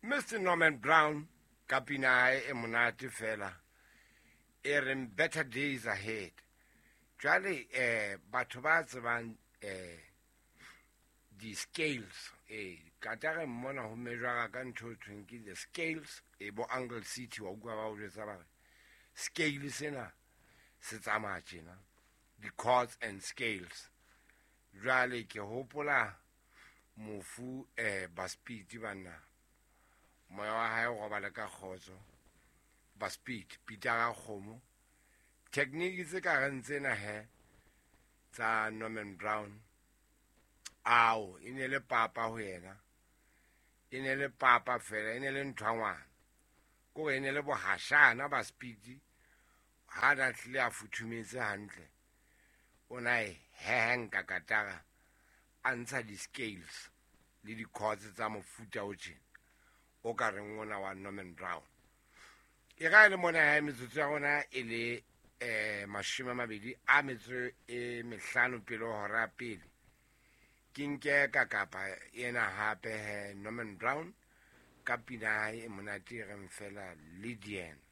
Mr Norman Brown ka pina ya hae e monate fela e reng Better Days Ahead. Jwale eh batho ba tsebang eh di-scales eh katare mmona ho mejwara ka ntho e thweng ke the scales e bo Angle City wa utlwa ba o jwetsa ba re scale sena se tsamaya tjena di-chords and scales. Jwale ke hopola mofu eh Baspeed banna moya wa hae o robale ka kgotso. Baspeed Peter Kgomo technique tse ka reng tsena he tsa Norman Brown ao e ne le papa ho yena, e ne le papa fela, e ne le ntho ya ngwana kore e ne le bohashana Baspeed ha na tlile a futhumetse hantle o na e hehenka katara a ntsha di-scales le di-chords tsa mofuta o tjena o ka reng ona wa Norman Brown. E ka e le mona ya metsotso ya rona e le 25 pele ho hora ya pele. Ke nke ka kapa ena hape he Norman Brown ka pina ya hae e monate e reng fela Lydian.